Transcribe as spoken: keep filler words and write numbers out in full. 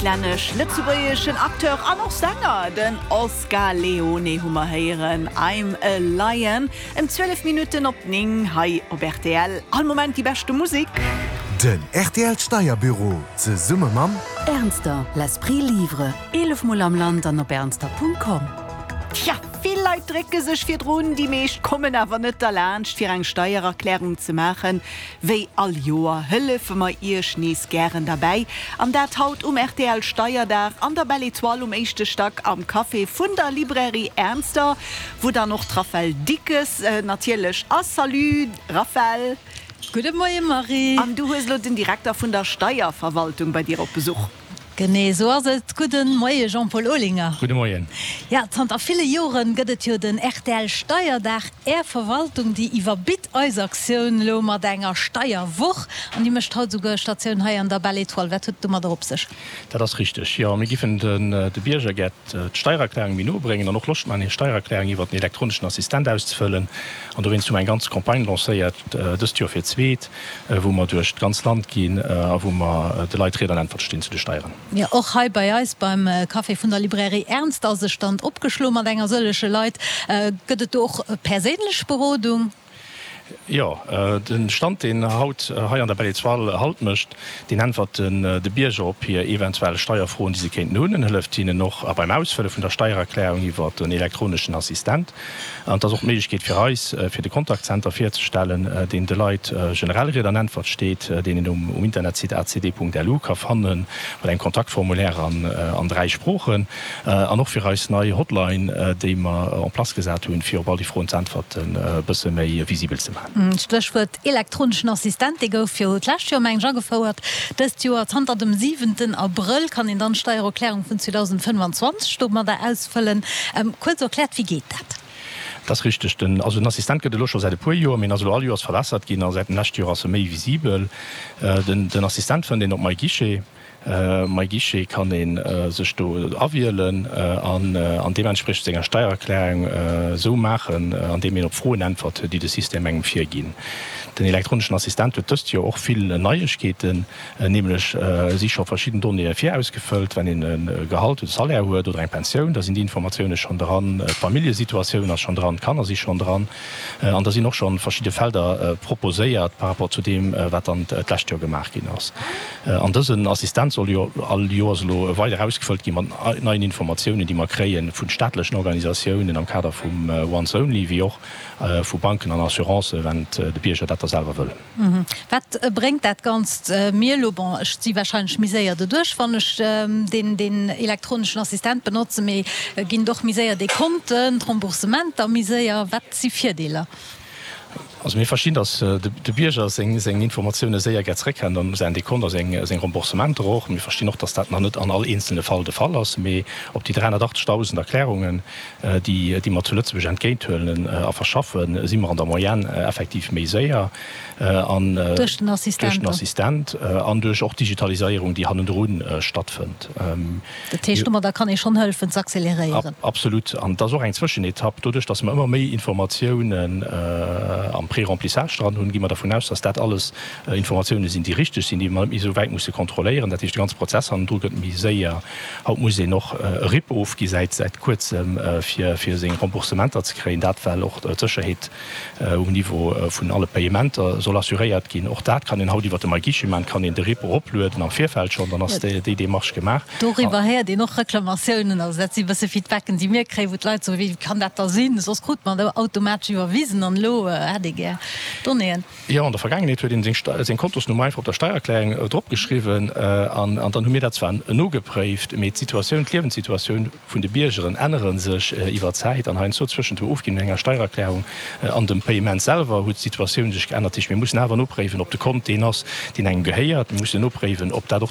Islännesch-lëtzebuergeschen Acteur an och Sänger, den Oscar Leone hu mer héieren, I'm a Lion. Ëm zwielef Minutten op néng hei op R T L. All Moment déi beschte Musek. Den R T L Steierbüro zesumme mam Ernster, l'esprit livre. Eelef Mol am Land an op ernster Punkt com. Tja, vill Leit drécke sech virdrun, déi meescht kommen awer net derlaanscht, fir eng Steiererklärung ze maachen. Wéi all Joer hëllefe mer iech nees gären derbäi. An dat haut um R T L Steierdag an der Belle Étoile um éischte Stack am Café vun der Librairie Ernster, wou dann och d'Raphaëlle Dickes äh, natierlech ass. Salut Raphaëlle. Gudde Moie Marie. An du hues lo den Direkter vun der Steierverwaltung bei dir op Besuch. Genee sou ass et. Gudde Moie Jean-Paul Olinger. Gudde Moien. Ja, zanter ville Joren gëtt et jo den R T L Steierdag. Är Verwaltung, déi iwwerbitt eis Aktioun lo mat enger Steierwoch an déi mécht haut souguer Statioun hei an der Belle Étoile. Wat huet et domadder op sech? Dat ass richteg. Jo, mir giffen den de Bierger gär d'Steiererklärung méi no bréngen an och Loscht maachen, hir Steiererklärung iwwer den elektroneschen Assistent auszefëllen. An dowéinst hu mer eng ganz Campagne lancéiert, dëst Joer fir d'zweet, wou mer duerch d'ganz Land ginn a wou mer de Leit Ried an Äntwert stinn zu de Steieren. Ja, och hei bei eis beim Café vun der Librairie Ernster ass e Stand opgeschloen mat enger sëlleche Leit. Gëtt et do och perséinlech Berodung? Jo, de Stand, deen haut hei an der Belle Étoile Halt mécht, deen äntwert de Bierger op hir eventuell Steierfroen, déi se kéinten hunn, en hëlleft hinnen och beim Ausfëlle vun der Steiererklärung iwwer den elektroneschen Assistent. An et ass och d'Méiglechkeet fir eis, fir de Kontaktcenter virzestellen, deen de Leit generell Ried an Äntwert steet, deen een um Internetsite A C D Punkt L U ka fannen, mat engem Kontaktformulaire an dräi Sproochen, an och fir eis nei Hotline, déi mer en place gesat hunn, fir op all déi Froen ze äntwerten, e bësse méi visibel ze maachen. Stéchwuert elektroneschen Assistent, dee gouf jo d'lescht Joer, mengen ech, agefouert. Dëst Joer, zanter dem siwenten Abrëll, kann een dann d'Steiererklärung vun zweedausendfënnfanzwanzeg domadder ausfëllen. Kuerz erkläert, wéi geet dat? Dat ass richteg. Den, also den Assistent gëtt et elo scho säit e puer Joer, mee en ass elo all Joers verbessert ginn a säit dem leschte Joer ass e méi visibel. Den, den Assistent fënnt een op MyGuichet. MyGuichet kann ee sech do awielen an, an deementspriechend senger Steiererklärung esou maachen, andeem een op Froen äntwert, déi de System engem virginn. Den elektroneschen Assistent huet dëst Joer och vill Neiegkeeten, nämlech si scho verschidden Donnéeë virausgefëllt, wann een e Gehalt oder Salaire huet oder eng Pensioun, da sinn déi Informatioune schonn dran, d'Familljesituatioun ass schonn dran, d'Kanner si schonn dran an da sinn och schonn verschidde Felder proposéiert par rapport zu deem, wat dann d'lescht Joer gemaach ginn ass. An dësen Assistent soll jo all Joers elo weider ausgefëllt gi mat neien Informatiounen, déi mer kréie vu staatlechen Organisatiounen am Kader vum Once Only, wéi och vu Banken an Assurancen, wann de Bierger dat da selwer wëll. Wat bréngt dat Ganzt mir elo? Bon, ech si warscheinlech méi séier doduerch, wann ech deen, deen elektroneschen Assistent benotzen, mee ginn et och méi séier Dekonten, d'Remboursementer méi séier? Wat si Virdeeler? Also mir verstinn, datt de Bierger seng seng Informatioune séier gär zréckhält an säin Dekont a seng seng Remboursementer och. Mir verstinn och, datt dat nach net an all eenzelne Fall de Fall ass, mee op déi dräihonnertachtzegdausend Erklärungen, déi déi mer zu Lëtzebuerg entgéinthuelen a verschaffen, si mer an der Moyenne effektiv méi séier an duerch den Assistent duerch den Assistent an duerch och d'Digitaliséierung, déi hannendrun stattfënnt. Dat heescht, domadder kann ee schonn hëllefen z'acceleréieren? Absolut. An et ass och eng Zwëschenetapp. Doduerch, datt mer ëmmer méi Informatiounen am Préremplissage dran hunn, gi mer dervun aus, dass dat alles Informatioune sinn, déi richteg sinn, déi mer net méi esou wäit musse kontrolléieren. Dat heescht, de ganze Prozess hannendru gëtt méi séier. Haut muss een och e RIP ofgi säit säit Kuerzem, fir fir seng Remboursementer ze kréien. Dat well och d'Sécherheet um Niveau vun alle Payementer soll assuréiert ginn. Och dat kann een haut iwwert de MyGuichet maachen, kann een de RIP eroplueden am Virfeld schonn, dann ass déi déi Démarche gemaach. Doriwwer héiert een och Reklamatiounen. Also dat si bësse Feedbacken, déi mir kréien, wou d'Leit soen, wéi kann dat da sinn, soss krut mer dat automatesch iwwerwisen an elo hätt ee gär Donnéeën. Jo, an der Vergaangenheet huet een seng Kontosnummer einfach op der Steiererklärung dropgeschriwwen an dann hu mir dat zwar nogepréift, mee d'Situatioun, d'Liewenssituatioun vun de Biergeren ännere sech iwwer d'Zäit an heiansdo zwëschent dem Ofginn vun enger Steiererklärung an dem Payement selwer huet d'Situatioun sech geännert. Dat heescht, mir mussen awer nopréiwen, ob de Kont deen ass, deen engem gehéiert. Mir mussen nopréiwen, ob dat och